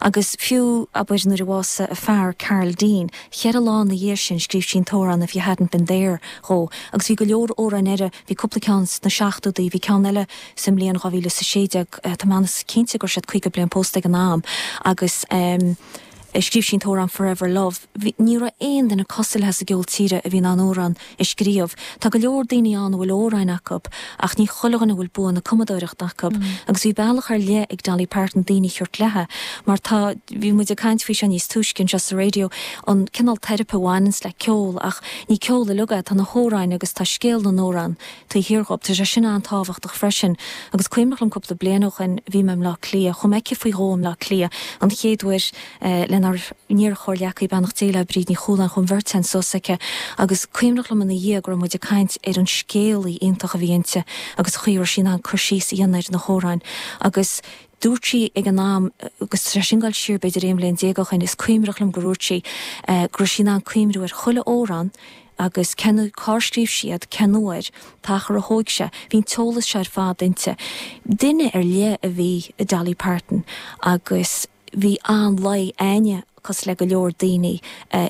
Agus fiú, abair, nuair a bhásaigh a fear, Carl Dean, cheithre lá ina dhiaidh sin scríobh sí an t-amhrán If You Hadn't Been There dhó. Agus bhí go leor amhráin eile, bhí cúpla ceann sna seachtóidí, bhí ceann eile sa mbliain 2016, tá mé an-chinnte go raibh siad 50 bliain pósta ag an am, agus eh. Scríobh sí an t-amhrán Forever Love. Bhí, ní raibh aon duine cosúil léi sa gceol tíre a bhí in ann amhrán a scríobh. Tá go leor daoine ann a bhfuil amhráin acu ach ní chuile dhuine a bhfuil bua na cumadóireachta acu. Agus bhí bealach ar leith ag Dolly Parton daoine a thabhairt léi mar tá, bhí muid ag caint faoi seo níos túisce anseo sa raidió, an cineál teiripe a bhaineanns le ceol ach ní ceol uilig é, tá na hamhráin agus tá scéal na n-amhrán taobh thiar dhób. Tá sé sin an-tábhachtach freisin. Agus cuimhneach liom cúpla bliain ó shoin, bhí mé i mBleá Cliath, chuaigh mé chuici faoi dhó i mBleá Cliath, an chéad uair lenár n-iar-chomhghleacaí, beannacht Dé léi, Bríd Ní Chualáin, chuaigh an bheirt againn suas aici agus cuimhneach liom ina dhiaidh go raibh muid ag caint ar an scéalaí iontach a bhí inti agus an chaoi a raibh sí in ann cur síos a dhéanamh ar na hamhráin agus dúirt sí ag an am, agus tá sé sin ag dul siar b'fhéidir 11 bhliain ó shoin, is cuimhneach liom gur dhúirt sí go raibh sí in ann cuimhniú ar chuile amhrán agus cén, cár scríobh sí iad, cén uair, an t-achar a thóig sé, bhí an t-eolas seo ar fad inti. Duine ar leith a bhí i Dolly Parton agus bhí an-luí againne, cosúil le go leor daoine,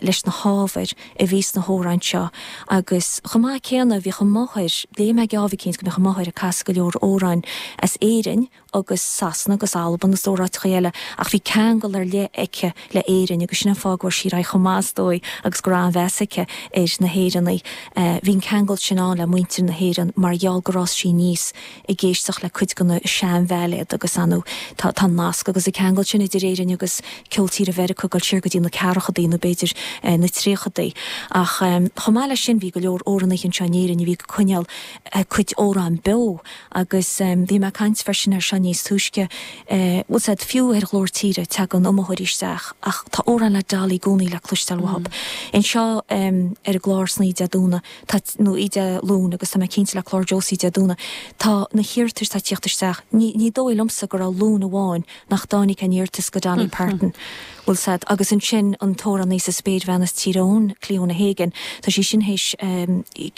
leis na hábhair a bhí sna hamhráin seo agus chomh maith céanna bhíodh a máthair, léigh mé geábh eicínt go mbíodh a máthair ag casadh go leor amhráin as Éirinn, agus Sasana agus Albain agus leor áiteachaí eile ach bhí ceangal ar leith aici le Éirinn agus sin an fáth go bhfuair sí ar aghaidh chomh maith is dóigh agus go raibh an-mheas aici ar na hÉireannaigh. Bhí an ceangal sin ann le muintir na hÉireann mar gheall gur fhás sí aníos ag éisteacht le cuid de na seanbhailéid agus ar ndóigh tá tá an nasc agus an ceangal sin idir Éirinn agus ceol tíre Mheiriceá ag dul siar go dtí na ceathrachadaí nó b'fhéidir na tríochadaí. Ach chomh maith leis sin bhí go leor amhránaithe anseo in Éirinn a bhí ag coinneáil a cuid amhrán beo Agus bhí mé ag caint freisin air seo níos túisce, bhfuil 's a'd, fiú ar Ghlór Tíre tagann iomaitheoirí isteach ach tá amhráin le Dolly i gcónaí le cloisteáil uathub. Anseo ar an gclár san oíche Dé Domhnaigh, tá, nó oíche Dé Luain agus tá mé cinnte le clár Josie Dé Domhnaigh, tá na hiarratais atá ag tíocht isteach, ní, ní dóigh liomsa go raibh Luan amháin nach dtáinig aon iarratas go Dolly Parton. Bhfuil 's a'd. Agus ansin an t-amhránaí is an spéirbhean as Tír Eoghain, Cliona Hagan, tá sí sin théis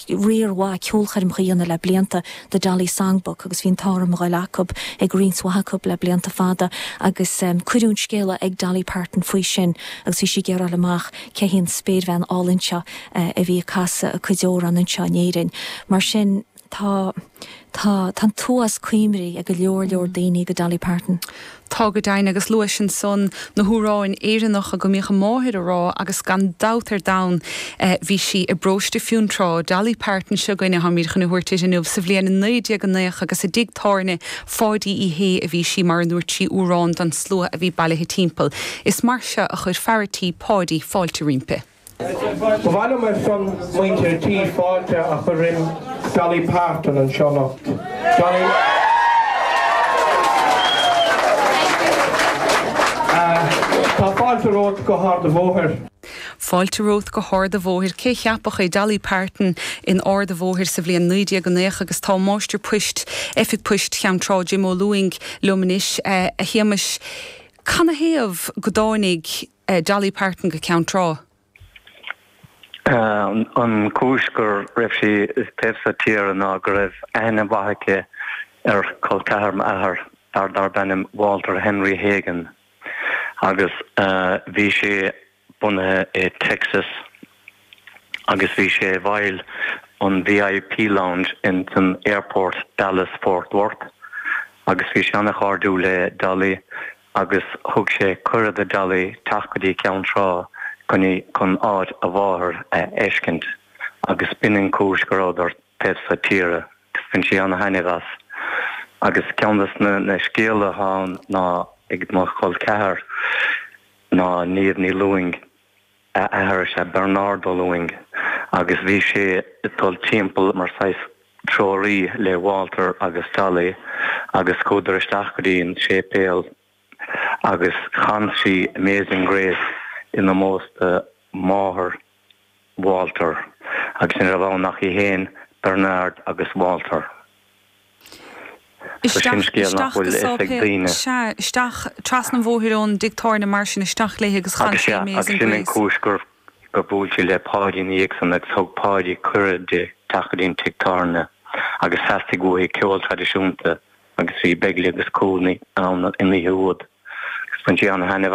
riar mhaith ceolchoirmeacha a dhéanamh le blianta do Dolly Songbook agus bhí an t-ádh orm a ghoil acub, ag roinnt mhaith acub le blianta fada agus cuireadh an scéala ag Dolly Parton faoi sin agus bhí sí ag iarraidh a fháil amach cé hí an spéirbhean álainn seo a bhí ag casadh a cuid amhrán anseo in Éirinn. Mar sin. Tá, tá, tá an t-uafás cuimhní ag go leor leor daoine go Dolly Parton. Tá go deimhin, agus luais ansan na hamhráin Éireannacha go mbíodh a máthair a rá agus gan dabht ar domhan bhí sí i bparóiste Fionntrá, Dolly Parton seo againne táimid chun a thabhairt uirthi inniu, sa bhliain 1990 agus i dtigh tábhairne Pháidí Uí Shé a bhí sí mar a ndúirt sí amhrán don slua a bhí bailithe timpeall. Is mar seo a chuir fear a tí Páidí fáilte roimpi. Ba mhaith liom ar son muintir an tí fáilte a chur roim Dolly Parton anseo anocht. Dolly. Tá fáilte romhat go hArd a' Bhóthair. Fáilte romhat go hArd a' Bhóthair. Cé cheapfadh é, Dolly Parton in Ard a' Bhóthair sa bhliain 1990 agus tá Máistir Poist, Oifig Poist Cheann Trá, Jim Ó Lúing liom anois. A Shéamais, canathaobh go dtáinig Dolly Parton go Ceann Trá. An chúis go raibh sí taobh seo tíre ná go raibh aithne mhaith aici ar chol ceathar m'athar, fear darb ainm Walter Henry Hagan, agus bhí sé bunaithe i Texas agus bhí sé i bhfeighil an VIP Lounge in san airport Dallas Fort Worth agus bhí sé an-chairdiúil le Dolly agus thug sé cuireadh do Dolly teacht go dtí Ceann Trá chun chun áit a mháthar a fheiscint agus b'in an chúis go rabhadar taobh seo tíre. Bhain sí ana-thaitneamh as. Agus ceann des na na scéalta atá ann ná ag mo chol ceathar ná Niamh Ní Lúing, A athair is ea Bernard Ó Lúing agus bhí sé ag dul timpeall mar saghas treoraí le Walter agus Dolly agus chuadar isteach go dtí an séipéal agus chan sí Amazing Grace in ómós do mháthair Walter agus ní raibh ann ach í féin, Bernard agus Walter. So sin Isteach, scéal nach isteach bhfuil go a fhios ag sáipéal, daoine. sea, isteach trasna an bhóthair ón dtigh tábhairne mar sin, isteach léi agus chan Agus sí sea, agus Amazing sin an Grace. chúis gur, gur bhuail sí le Páidí ina dhiaidh san agus thug Páidí cuireadh di teacht go dtí an tigh tábhairne agus theastaigh uaithi ceol traidisiúnta agus bhí Begley agus Cooney ann an oíche úd agus bhain sí an-thaitneamh.